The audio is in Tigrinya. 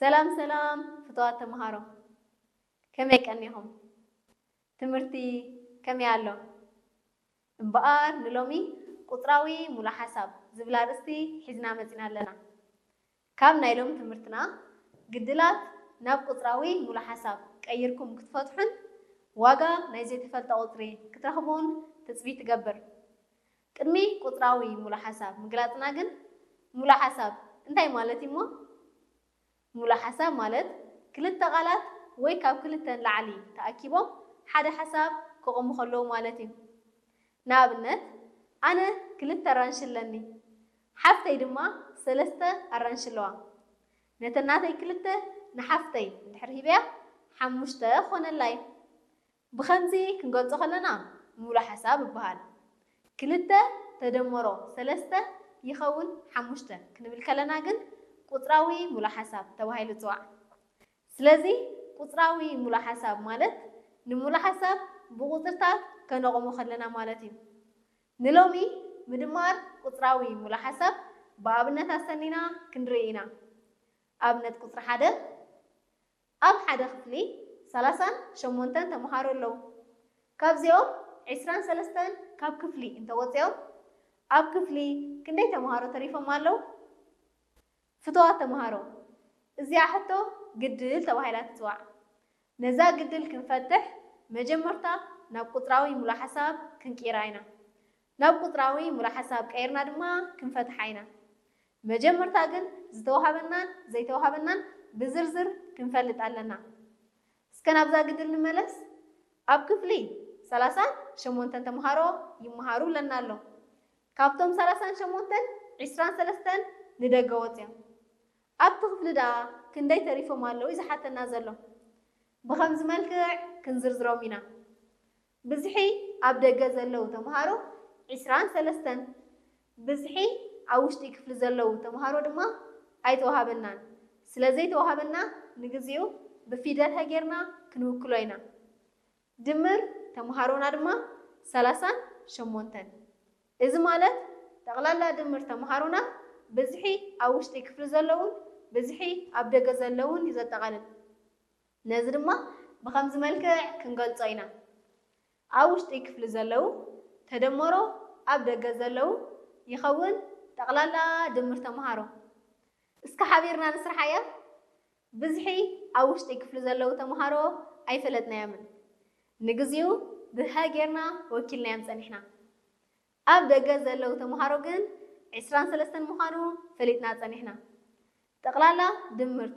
ሰላም ሰላም ፍቱዋት ተምሃሮ፣ ከመይ ቀኒኹም? ትምህርቲ ከመይ ኣሎ? እምበኣር ንሎሚ ቁጽራዊ ሙሉእ ሓሳብ ዝብል ኣርእስቲ ሒዝና መጺና ኣለና። ካብ ናይ ሎሚ ትምህርትና ግድላት ናብ ቁጽራዊ ሙሉእ ሓሳብ ቀይርኩም ክትፈትሑን ዋጋ ናይ ዘይተፈልጠ ቁጽሪ ክትረኽቡን ትጽቢት ትገብር። ቅድሚ ቁጽራዊ ሙሉእ ሓሳብ ምግላጽና ግን ሙሉእ ሓሳብ እንታይ ማለት እዩሞ? ሙሉእ ሓሳብ ማለት ክልተ ቃላት ወይ ካብ ክልተ ንላዕሊ ተኣኪቦም ሓደ ሓሳብ ክቑሙ ከለዉ ማለት እዩ። ንኣብነት ኣነ ክልተ ኣራንሺ ኣለኒ፣ ሓፍተይ ድማ ሰለስተ ኣራንሺ ኣለዋ። ነተን ናተይ ክልተ ንሓፍተይ እንድሕር ሂበያ ሓሙሽተ ክኾነላ እዩ። ብኸምዚ ክንገልጾ ከለና ሙሉእ ሓሳብ ይበሃል። ክልተ ተደመሮ ሰለስተ ይኸውን ሓሙሽተ ክንብል ከለና ግን ቁጽራዊ ሙሉእ ሓሳብ ተባሂሉ ይጽዋዕ። ስለዚ ቁጽራዊ ሙሉእ ሓሳብ ማለት ንሙሉእ ሓሳብ ብቁጽርታት ከነቑሞ ከለና ማለት እዩ። ንሎሚ ምድማር ቁጽራዊ ሙሉእ ሓሳብ ብኣብነት ኣሰኒና ክንርኢ ኢና። ኣብነት ቁጽሪ ሓደ፣ ኣብ ሓደ ክፍሊ ሰላሳን ሸሞንተን ተምሃሮ ኣለዉ። ካብዚኦም ዕስራን ሰለስተን ካብ ክፍሊ እንተወፂኦም ኣብ ክፍሊ ክንደይ ተምሃሮ ተሪፎም ኣለዉ? ፍቱዋት ተምሃሮ፣ እዚኣ ሕቶ ግድል ተባሂላ ትፅዋዕ። ነዛ ግድል ክንፈትሕ መጀመርታ ናብ ቁፅራዊ ሙሉእ ሓሳብ ክንቅይራ ኢና። ናብ ቁፅራዊ ሙሉእ ሓሳብ ቀይርና ድማ ክንፈትሓ ኢና። መጀመርታ ግን ዝተዋሃበናን ዘይተዋሃበናን ብዝርዝር ክንፈልጥ ኣለና። እስከ ናብዛ ግድል ንመለስ። ኣብ ክፍሊ ሰላሳን ሸሞንተን ተምሃሮ ይመሃሩ ኣለና ኣሎ። ካብቶም ሰላሳን ሸሞንተን ዕስራን ሰለስተን ንደገ ወፅዮም። ኣብቲ ክፍሊ ደኣ ክንደይ ተሪፎም ኣለዉ እዩ ዝሓተና ዘሎ። ብኸምዚ መልክዕ ክንዝርዝሮም ኢና። ብዝሒ ኣብ ደገ ዘለዉ ተምሃሮ ዕስራን ሰለስተን፣ ብዝሒ ኣብ ውሽጢ ክፍሊ ዘለዉ ተምሃሮ ድማ ኣይተዋሃበናን። ስለ ዘይተዋሃበና ንግዚኡ ብፊደል ሃ ጌርና ክንውክሎ ኢና። ድምር ተምሃሮና ድማ ሰላሳን ሸሞንተን። እዚ ማለት ጠቕላላ ድምር ተምሃሮና ብዝሒ ኣብ ውሽጢ ክፍሊ ዘለዉን ብዝሒ ኣብ ደገ ዘለዉን እዩ ዘጠቓልል። ነዚ ድማ ብኸምዚ መልክዕ ክንገልጾ ኢና። ኣብ ውሽጢ ክፍሊ ዘለዉ ተደመሮ ኣብ ደገ ዘለዉ ይኸውን ጠቕላላ ድምር ተምሃሮ። እስከ ሓቢርና ንስርሓያ። ብዝሒ ኣብ ውሽጢ ክፍሊ ዘለዉ ተምሃሮ ኣይፈለጥናዮምን። ንግዚኡ ብሀ ጌርና ወኪልናዮም ጸኒሕና። ኣብ ደገ ዘለዉ ተምሃሮ ግን ዕስራን ሰለስተን ምዃኑ ፈሊጥና ጸኒሕና። ጠቕላላ ድምር